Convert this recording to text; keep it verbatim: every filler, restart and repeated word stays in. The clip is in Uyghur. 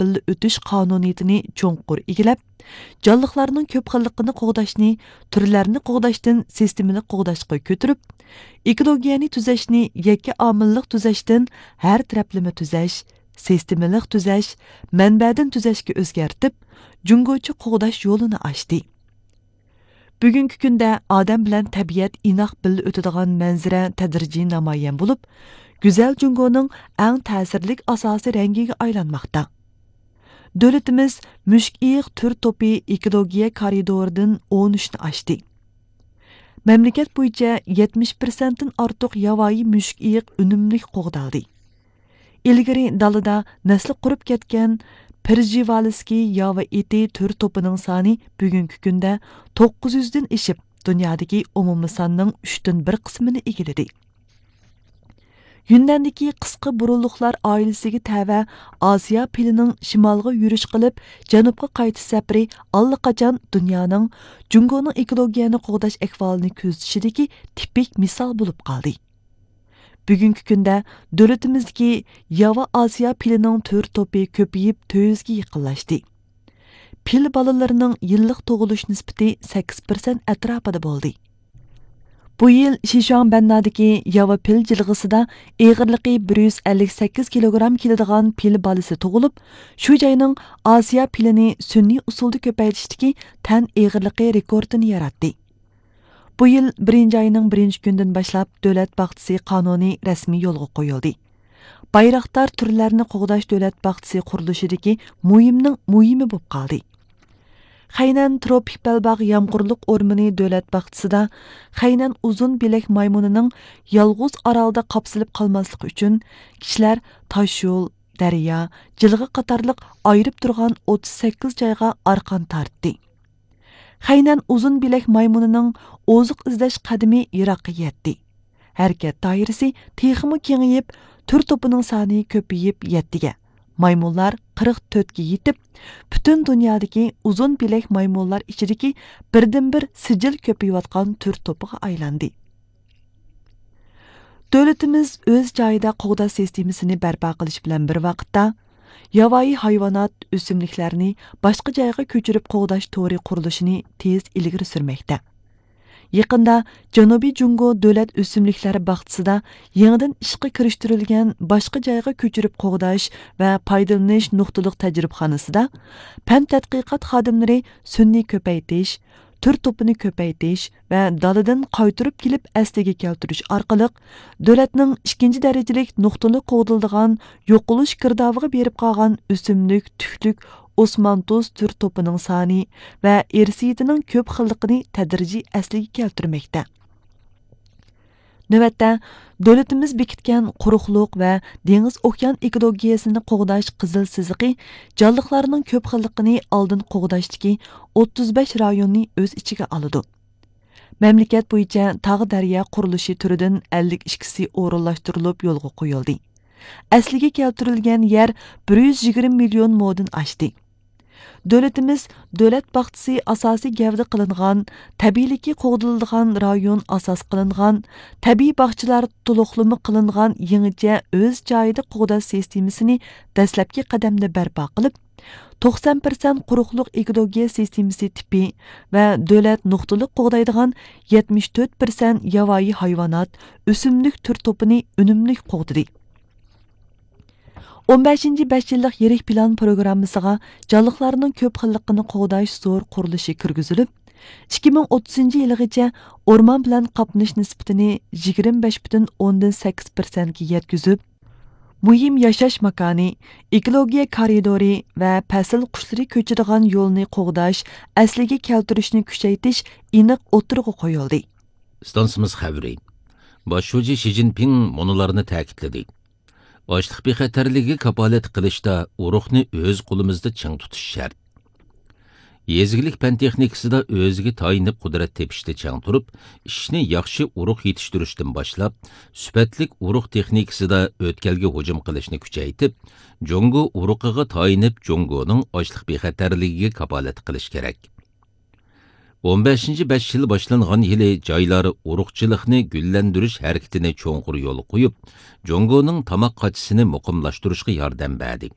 بىللە ئۆتۈش قانۇنىيىتىنى چوڭقۇر ئىگىلەپ، جانلىقلارنىڭ كۆپ خىللىقىنى قوغداشنى تۈرلەرنى قوغداشتىن سىستېمىلىق قوغداشقا كۆتۈرۈپ، ئېكولوگىيەنى تۈزەشنى يەككە ئامىللىق تۈزەشتىن ھەر تەرەپلىمە تۈزەش، سىستېمىلىق تۈزەش، مەنبەدىن تۈزەشكە ئۆزگەرتىپ، جۇڭگوچە قوغداش يولىنى ئاچتى. بۈگۈنكى كۈندە ئادەم بىلەن تەبىئەت ئىناق بىللە ئۆتىدىغان مەنزىرە تەدرىجىي نامايان بولۇپ، گۈزەل جۇڭگونىڭ ئەڭ تەسىرلىك ئاساسىي رەڭگىگە ئايلانماقتا. دۆلىتىمىز مۈشۈك ئېيىق تۈر توپى ئېكولوگىيە كارىدورىدىن ئون ئۈچنى ئاشتى. مەملىكەت بويىچە يەتمىش پىرسەنتتىن ئارتۇق ياۋايى مۈشۈك ئېيىق ئۈنۈملۈك قوغدالدى. ئىلگىرى دالىدا نەسلى قۇرۇپ كەتكەن پېرژىۋالىسكىي ياۋا ئېتى تۈر توپىنىڭ سانى بۈگۈنكى كۈندە توققۇز يۈزدىن ئېشىپ، دۇنيادىكى ئومۇمىي ساننىڭ ئۈچتىن بىر قىسمىنى ئىگىلىدى. يۈننەندىكى قىسقا بۇرۇنلۇقلار ئائىلىسىگە تەۋە ئاسىيا پىلىنىڭ شىمالغا يۈرۈش قىلىپ، جەنۇبقا قايتىش سەپىرى ئاللىقاچان دۇنيانىڭ جۇڭگونىڭ ئېكولوگىيەنى قوغداش ئەھۋالىنى كۆزىتىشىدىكى تىپىك مىسال بولۇپ قالدى. بۈگۈنكى كۈندە دۆلىتىمىزدىكى ياۋا ئاسىيا پىلىنىڭ تۈر توپى كۆپىيىپ، تۆت يۈزگە يېقىنلاشتى. پىل بالىلىرىنىڭ يىللىق تۇغۇلۇش نىسبىتى سەككىز پىرسەنت ئەتراپىدا بولدى. بۇ يىل شىشۇاڭبەننادىكى ياۋا پىل جىلغىسىدا ئېغىرلىقى بىر يۈز ئەللىك سەككىز كىلوگرام كېلىدىغان پىل بالىسى تۇغۇلۇپ، شۇ جاينىڭ ئاسىيا پىلىنى سۈنئىي ئۇسۇلدا كۆپەيتىشتىكى تەن ئېغىرلىقى رېكورتىنى ياراتتى. بۇ يىل بىرىنچى ئاينىڭ بىرىنچى كۈنىدىن باشلاپ دۆلەت باغچىسى قانۇنى رەسمىي يولغا قويۇلدى. بايراقدار تۈرلەرنى قوغداش دۆلەت باغچىسى قۇرۇلۇشىدىكى مۇھىمنىڭ مۇھىمى بولۇپ قالدى. خەينەن تروپىك بەلباغ يامغۇرلۇق ئورمىنى دۆلەت باغچىسىدا خەينەن ئۇزۇن بىلەك مايمۇنىنىڭ يالغۇز ئارالدا قاپسىلىپ قالماسلىقى ئۈچۈن كىشىلەر تاشيول، دەريا، جىلغا قاتارلىق ئايرىپ تۇرغان ئوتتۇز سەككىز جايغا ئارقان تارتتى. خەينەن ئۇزۇن بىلەك مايمۇنىنىڭ ئوزۇق ئىزدەش قەدىمى يىراققا يەتتى. ھەرىكەت دائىرىسى تېخىمۇ كېڭىيىپ، تۈر توپىنىڭ سانى كۆپىيىپ يەتتىگە، مايمۇنلار قىرىق تۆتكە يېتىپ، پۈتۈن دۇنيادىكى ئۇزۇن بىلەك مايمۇنلار ئىچىدىكى بىردىنبىر سىجىل كۆپىيىۋاتقان تۈر توپىغا ئايلاندى. دۆلىتىمىز ئۆز جايىدا قوغداش سىستېمىسىنى بەرپا قىلىش بىلەن بىر ۋاقىتتا، ياۋايى ھايۋانات، ئۆسۈملۈكلەرنى باشقا جايغا كۆچۈرۈپ قوغداش تورى قۇرۇلۇشىنى تېز ئىلگىرى سۈرمەكتە. يېقىندا جەنۇبىي جۇڭگو دۆلەت ئۆسۈملۈكلەر باغچىسىدا يېڭىدىن ئىشقا كىرىشتۈرۈلگەن باشقا جايغا كۆچۈرۈپ قوغداش ۋە پايدىلىنىش نۇقتىلىق تەجرىبىخانىسىدا پەن تەتقىقات خادىملىرى سۈنئىي كۆپەيتىش، تۈر توپىنى كۆپەيتىش ۋە دالىدىن قايتۇرۇپ كېلىپ ئەسلىگە كەلتۈرۈش ئارقىلىق، دۆلەتنىڭ ئىككىنچى دەرىجىلىك نۇقتىلىق قوغدىلىدىغان يوقىلىش گىردابىغا بېرىپ قالغان ئۆسۈملۈك، تۈكلۈك، ئوسمانتۇز تۈر توپىنىڭ سانى ۋە ئىرسىيىتىنىڭ كۆپ خىللىقىنى تەدرىجىي ئەسلىگە كەلتۈرمەكتە. نۆۋەتتە، دۆلىتىمىز بېكىتكەن قۇرۇقلۇق ۋە دېڭىز ئوكيان ئېكولوگىيەسىنى قوغداش قىزىل سىزىقى جانلىقلارنىڭ كۆپ خىللىقىنى ئالدىن قوغداشتىكى ئوتتۇز بەش رايوننى ئۆز ئىچىگە ئالىدۇ. مەملىكەت بويىچە تاغ دەريا قۇرۇلۇشى تۈرىدىن ئەللىك ئىككىسى ئورۇنلاشتۇرۇلۇپ يولغا قويۇلدى. ئەسلىگە كەلتۈرۈلگەن يەر بىر يۈز يىگىرمە مىليون مودىن ئاشتى. دۆلىتىمىز دۆلەت باغچىسى ئاساسىي گەۋدە قىلىنغان، تەبىئىيلىكى قوغدىلىدىغان رايون ئاساس قىلىنغان، تەبىئىي باغچىلار تولۇقلىما قىلىنغان يېڭىچە ئۆز جايىدا قوغداش سىستېمىسىنى دەسلەپكى قەدەمدە بەرپا قىلىپ، توقسان پىرسەنت قۇرۇقلۇق ئېكولوگىيە سىستېمىسى تىپى ۋە دۆلەت نۇقتىلىق قوغدايدىغان يەتمىش تۆت پىرسەنت ياۋايى ھايۋانات، ئۆسۈملۈك تۈر توپىنى ئۈنۈملۈك قوغدىدى. ئون بەشىنچى بەش يىللىق يىرىك پىلان پروگراممىسىغا جانلىقلارنىڭ كۆپ خىللىقىنى قوغداش زور قۇرۇلۇشى كىرگۈزۈلۈپ، ئىككى مىڭ ئوتتۇزىنچى يىلىغىچە ئورمان بىلەن قاپلىنىش نىسبىتىنى يىگىرمە بەش پۈتۈن ئوندىن سەككىز پىرسەنتكە يەتكۈزۈپ، مۇھىم ياشاش ماكانى، ئېكولوگىيە كارىدورى ۋە پەسىل قۇشلىرى كۆچىدىغان يولنى قوغداش، ئەسلىگە كەلتۈرۈشنى كۈچەيتىش ئېنىق ئوتتۇرىغا قويۇلدى. ئىستانسىمىز خەۋىرى. باش شۇجى شى جىنپىڭ مۇنۇلارنى تەكىتلىدى. ئاشلىق بىخەتەرلىكىگە كاپالەتلىك قىلىشتا ئۇرۇقنى ئۆز قولىمىزدا چىڭ تۇتۇش شەرت. يېزا ئىگىلىك پەن تېخنىكىسىدا ئۆزىگە تايىنىپ قۇدرەت تېپىشتا چىڭ تۇرۇپ، ئىشنى ياخشى ئۇرۇق يېتىشتۈرۈشتىن باشلاپ، سۈپەتلىك ئۇرۇق تېخنىكىسىدا ئۆتكەلگە ھۇجۇم قىلىشنى كۈچەيتىپ، جۇڭگو ئۇرۇقىغا تايىنىپ، جۇڭگونىڭ ئاشلىق بىخەتەرلىكىگە كاپالەتلىك قىلىش كېرەك. ئون بەشىنچى بەش يىل باشلانغان يىلى جايلار ئۇرۇقچىلىقنى گۈللەندۈرۈش ھەرىكىتىنى چوڭقۇر يولغا قويۇپ، جۇڭگونىڭ تاماق قاچىسىنى مۇقىملاشتۇرۇشقا ياردەم بەردى.